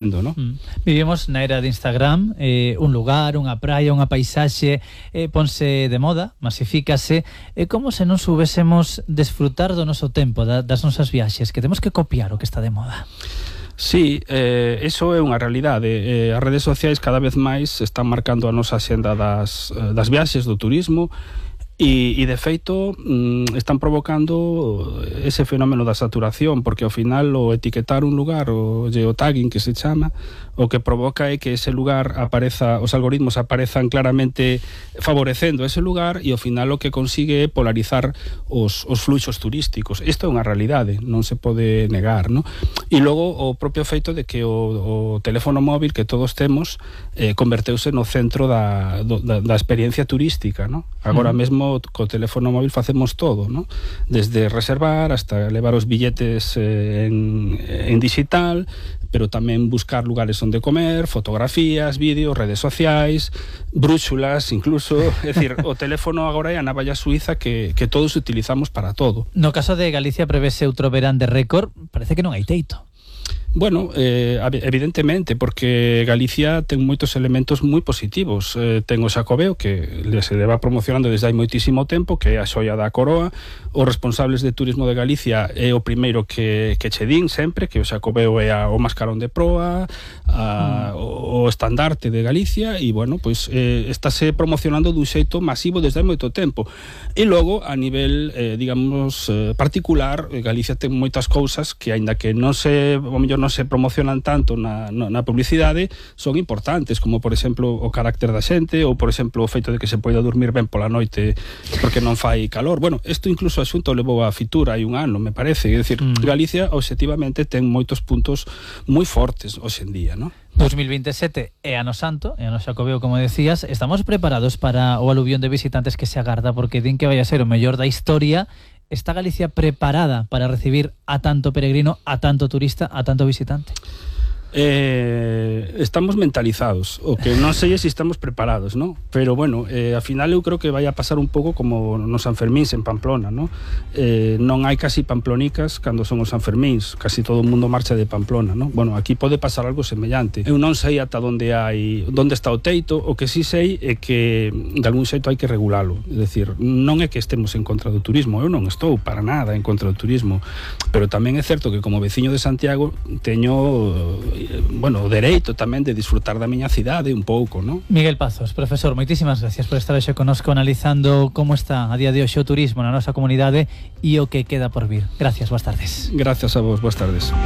¿no? Vivimos na era de Instagram, un lugar, unha praia, unha paisaxe, ponse de moda, masifícase, como se non soubésemos desfrutar do noso tempo, das nosas viaxes, que temos que copiar o que está de moda. Sí, eso é unha realidade. As redes sociais cada vez máis están marcando a nosa xenda das viaxes, do turismo, e de feito están provocando ese fenómeno da saturación, porque ao final o etiquetar un lugar, o geotagging que se chama, o que provoca é que ese lugar apareza, os algoritmos aparezan claramente favorecendo ese lugar, e ao final o que consigue é polarizar os fluxos turísticos. Isto é unha realidade, non se pode negar, ¿no? E logo o propio feito de que o teléfono móvil que todos temos converteuse no centro da experiencia turística, ¿no? Agora mesmo co teléfono móvil facemos todo, ¿no? Desde reservar hasta levar os billetes en digital, pero tamén buscar lugares onde comer, fotografías, vídeos, redes sociais, brúxulas incluso. É dicir, o teléfono agora é a navalla suiza que todos utilizamos para todo. No caso de Galicia prevese outro verán de récord, parece que non hai teito. Bueno, evidentemente, porque Galicia ten moitos elementos moi positivos. Ten o Xacobeo, que se leva promocionando desde hai moitísimo tempo, que é a xoia da coroa. Os responsables de turismo de Galicia é o primeiro que che din sempre, que o Xacobeo é o mascarón de proa, o estandarte de Galicia, e, bueno, pois estáse promocionando dun xeito masivo desde hai moito tempo. E logo, a nivel, digamos, particular, Galicia ten moitas cousas que, aínda que non se, o mellor non se promocionan tanto na publicidade, son importantes, como por exemplo o carácter da xente, ou por exemplo o feito de que se poida dormir ben pola noite porque non fai calor. Bueno, isto incluso a Xunta levou a Fitur hai un ano, me parece. É dicir, Galicia obxectivamente ten moitos puntos moi fortes hoxe en día, non? 2027 é ano santo, é ano Xacobeo, como decías. Estamos preparados para o aluvión de visitantes que se agarda, porque din que vai a ser o mellor da historia. Está Galicia preparada para recibir a tanto peregrino, a tanto turista, a tanto visitante? Estamos mentalizados, o que non sei se estamos preparados, ¿no? Pero bueno, ao final eu creo que vai a pasar un pouco como nos Sanfermíns en Pamplona, ¿no? Non hai casi pamplonicas cando son os Sanfermíns, casi todo o mundo marcha de Pamplona, ¿no? Bueno, aquí pode pasar algo semellante. Eu non sei ata onde está o teito. O que sí sei é que de algún xeito hai que regulalo. É dicir, non é que estemos en contra do turismo, eu non estou para nada en contra do turismo, pero tamén é certo que como veciño de Santiago teño o dereito tamén de disfrutar da miña cidade un pouco, non? Miguel Pazos, profesor, moitísimas gracias por estar hoxe connosco analizando como está a día de hoxe o turismo na nosa comunidade e o que queda por vir. Gracias, boas tardes. Gracias a vos, boas tardes.